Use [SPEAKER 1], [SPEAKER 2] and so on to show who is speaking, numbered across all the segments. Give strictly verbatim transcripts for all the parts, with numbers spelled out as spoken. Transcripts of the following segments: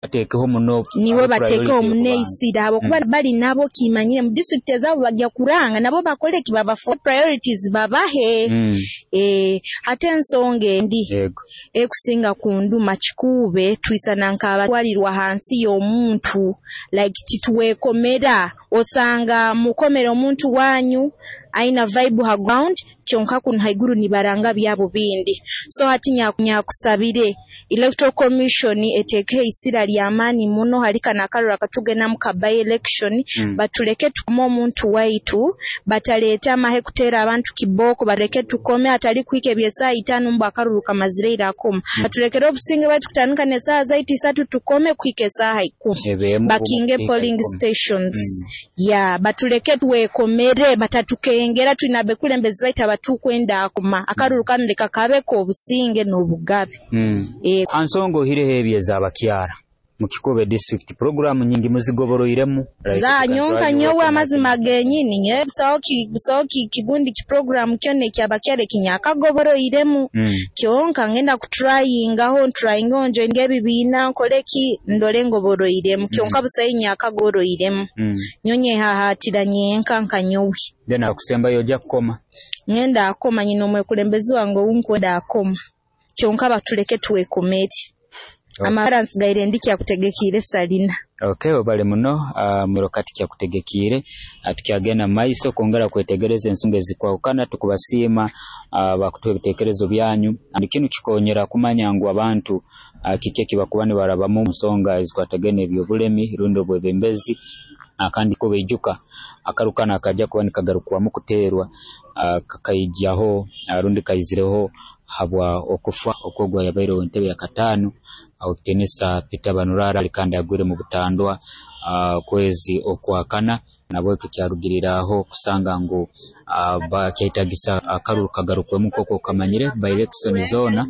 [SPEAKER 1] Bateekeho muno
[SPEAKER 2] Nibo bateekeho muno eisira habwokuba bali nabo kimanyire mu disitulikiti ezaabo bagya kuranga nabo bakole ki, babafuule priorities babahe.
[SPEAKER 1] Mm.
[SPEAKER 2] Eeh ate ensonga endi
[SPEAKER 1] Yego.
[SPEAKER 2] ekusinga kunduma, Kikuube twisana nk'abatwalirwa hansi y'omuntu, like titwekomera, osanga mukomere omuntu wanyu aina vibe ha ground kyonka kunu haiguru nibaranga byabo bindi. So hati nyakusabire Electoral Commission eteekeho eisira ly'amaani muno hali kanu akaruru akatukugendamu aka by-election,
[SPEAKER 1] Mm.
[SPEAKER 2] batuleke tukome omuntu waitu, bataleeta amahe kuteera abantu kibooko, baleke tukome hatali kuhika eby'esaaha itaano mbu akaruru kamazire ira koma. Batulekere obusinge bwaitu kutandika n'esaaha zaitu isatu tukome kuhika esaaha ikumi.
[SPEAKER 1] Ebeemu
[SPEAKER 2] Bakinge
[SPEAKER 1] kuhika
[SPEAKER 2] polling
[SPEAKER 1] ikumi.
[SPEAKER 2] stations.
[SPEAKER 1] Mm.
[SPEAKER 2] Yeah, batuleke twekomere batatukengera, twine abekulembezi baitu abatukwenda akoma. Akaruru kanu leka kabe k'obusinge n'obugabe.
[SPEAKER 1] Mm.
[SPEAKER 2] Eh,
[SPEAKER 1] Ha nsonga oihireho ebyo ez'abakyara mu Kikuube District, puroguramu nyingi muzigoboroiremu?
[SPEAKER 2] Za nyonka nyowe amazima genyini nyowe busaho ki busaho ki kigundi ki program kyona ekyabakyara ekinyakagoboroiremu.
[SPEAKER 1] Mm.
[SPEAKER 2] Kyonka ngenda kutrayingaho, ntrayingeho njoininge ebibiina nkole ki, ndole ngoboroiremu, kyonka busaho ekinyakagoboroiremu.
[SPEAKER 1] Mm.
[SPEAKER 2] Nyowe nyehahaatira nyenka nka nyowe.
[SPEAKER 1] Then akusembayo ojja kukoma?
[SPEAKER 2] Ngenda akoma, nyina omwekulembezi wange ounkwenda akoma, kyonka batuleke twekomere. Amagara nsigaire ndi Kyakutegekiire Salina.
[SPEAKER 1] Okay, webale muno uh, Mwirokati Kyakutegekiire. uh, tukyagenda mu maiso kwongera kwetegereza ensonga ezikwahukana. Tukubasiima uh, bakutuha ebiteekerezo byanyu. Kinu kikonyera kumanya ngu abantu uh, kiki ekibakuba nibarabamu mu nsonga ezikwatagaine n'ebyobulemi rundi obwebembezi. uh, kandi kubaijuka akaruru kanu akajya kuba nikagarukwamu kuteerwa uh, kakaijaho uh, rundi kaizireho habwa okufa okw'ogu ayabaire w'entebe yakataano ow'ekitiinisa Peter Banurara, kandi agwire mu butandwa uh, kwezi okwakana. Nabwekyo kyarugiriraho kusanga ngu uh, kyetagisa akaruru kagarukwemu. Nk'oku okamanyire, by election zoona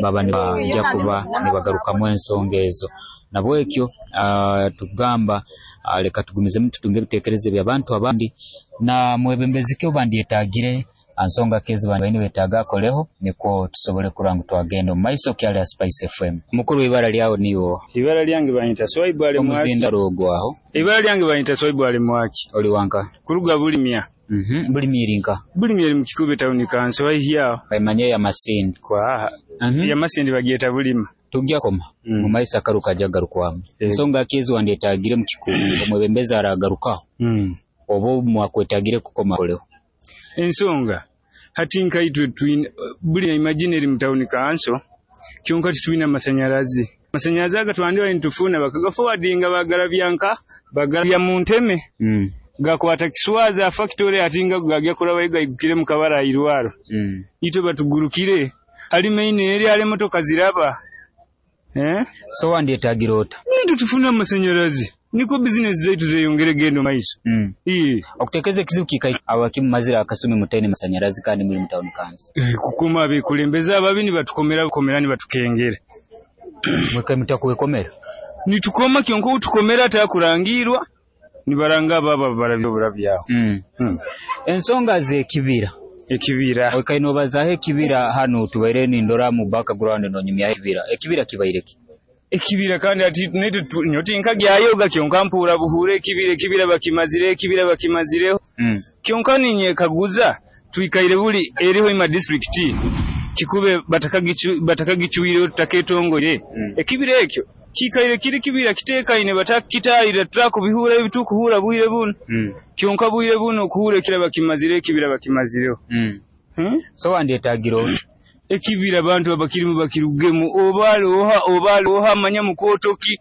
[SPEAKER 1] baba nibajja kuba nibagarukamu ensonga ezo. Nabwekyo uh, tukugamba uh, leka tugumizemu tutunge ebiteekerezo eby'abantu abandi na mwebembezi ki obandyetagire, nsonga ki ezi baine nibetaaga akoleho, nikwo tusobole kurora ngu twagenda omu maiso. Okyali ha Spice F M. Mukuru, ibara lyawe niiwe?
[SPEAKER 3] Ibara lyange banyita Swaibu Ali Mwaki.
[SPEAKER 1] Omuzindaro ogwaho.
[SPEAKER 3] Ibara lyange banyita Swaibu Ali Mwaki.
[SPEAKER 1] Oli wanka?
[SPEAKER 3] Kuruga Bulimya.
[SPEAKER 1] Mhm bulimya eri nka?
[SPEAKER 3] Bulimya eri mu Kikuube Town Council, haihi aho.
[SPEAKER 1] Baimanye ya Masindi.
[SPEAKER 3] Kwaha.
[SPEAKER 1] Mhm.
[SPEAKER 3] Ya Masindi bagyeta Bulima.
[SPEAKER 1] Tujja koma
[SPEAKER 3] Mm.
[SPEAKER 1] mu maiso akaru kajja garukwamu.
[SPEAKER 3] Eh.
[SPEAKER 1] Nsonga ki ezi wandyetagire mu Kikuube omwebembezi aragarukaho
[SPEAKER 3] Mm.
[SPEAKER 1] oba mwakwetagire kukoma koleho?
[SPEAKER 3] Ensonga hati nkaitwe twine Bulima, imagine eri mu town council, kyonka titwine amasanyarazi. Amasanyarazi aga twandibaire nitufuna bakagaforwardinga bagarabya nka bagarabya mu nteme,
[SPEAKER 1] mm.
[SPEAKER 3] gakwata Kiswaza factory, ati nga gagya kurabayo gaigukire mu Kabara irwaro.
[SPEAKER 1] Mm.
[SPEAKER 3] Itwe batugurukire ali main eri ali emotoka ziraba, eh.
[SPEAKER 1] So wandyetagire ota?
[SPEAKER 3] Nitwe tufune amasanyarazi niko bizinesi zaitu zeyongere genda maiso.
[SPEAKER 1] mm.
[SPEAKER 3] Iye.
[SPEAKER 1] Okuteekeza ekizibu kikai abakimu mazira akasumi mutaine masanyarazi kandi muli mu town council?
[SPEAKER 3] Eh, kukoma abekulembeze ababi nibatukomera bukomera, nibatukengera.
[SPEAKER 1] Mweka mutakwekomera?
[SPEAKER 3] Nitukoma, kyonka otukomera atakurangirwa, nibaranga ababa barabya oburabyaho.
[SPEAKER 1] mm.
[SPEAKER 3] hmm.
[SPEAKER 1] Ensonga z'ekibira.
[SPEAKER 3] Ekibira.
[SPEAKER 1] Oikaire nobazaaho ekibira hanu, tubaire nindora mu background nonyumyaho ekibira. Ekibira kibaire ki?
[SPEAKER 3] Ekibira kandi ati naitwe nyowe tinkagyayoga, kyonka mpuura buhuura ekibira, ekibira bakimazire, ekibira bakimazireho.
[SPEAKER 1] mm.
[SPEAKER 3] Kyonka ninyekaguza, twikaire buli eriho ima district Kikube batakagichu batakagichwireho, tutaketongore.
[SPEAKER 1] Mm.
[SPEAKER 3] Ekibira ekyo kikaire kiri kibira kitekaine, batakitayira, tutakubihura ebitukuhura bwire buno.
[SPEAKER 1] Mm.
[SPEAKER 3] Kyonka bwire buno okuhura ekibira bakimazire, ekibira bakimazireho.
[SPEAKER 1] Mm.
[SPEAKER 3] hmm?
[SPEAKER 1] So wandyetagire ota?
[SPEAKER 3] Ekibira abantu abakirimu bakirugemu, oba aloha oba aloha manya mukotoki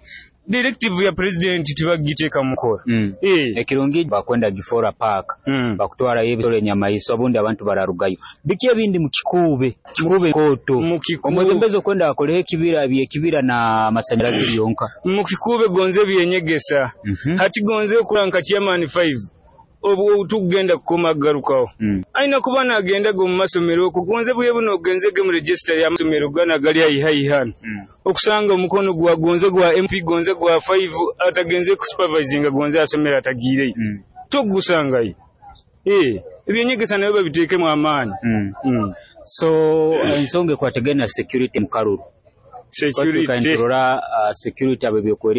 [SPEAKER 3] directive ya president tibagiteeka mu nkola.
[SPEAKER 1] mm.
[SPEAKER 3] Eh.
[SPEAKER 1] Ekirungi bakwenda gifora park,
[SPEAKER 3] Mm.
[SPEAKER 1] bakutwarayo ebisolo, enyamaiswa, obundi abantu bararugayo. Biki ebindi mu Kikuube, Kikuube kooto?
[SPEAKER 3] Mu Kikuube.
[SPEAKER 1] Omwebembezi okwenda akoleho ekibira, byekibira na masanyarazi byonka?
[SPEAKER 3] Mu Kikuube gonze byenyegesa.
[SPEAKER 1] Mhm.
[SPEAKER 3] Hati gonze okura nka chairman five obwo tugenda kukoma garukaho,
[SPEAKER 1] Mm.
[SPEAKER 3] aina kuba nagendaga omu masomero okwo. Gonze bwe buno ogenzege mu register y'amasomero gana gali haihi haihi hano,
[SPEAKER 1] Mm.
[SPEAKER 3] okusanga omukono gwa gonze gwa M P, gonze gwa five atagenze kusupervisinga, gonze asomero atagiireyo,
[SPEAKER 1] Mm.
[SPEAKER 3] togusangayo. Eh, ebyenyegesa nabyo babiteekemu amaani.
[SPEAKER 1] Mm.
[SPEAKER 3] mm.
[SPEAKER 1] So ensonga ekwatagaine na security mu karuru?
[SPEAKER 3] Security.
[SPEAKER 1] Niturora uh, security ab'ebyokwerinda.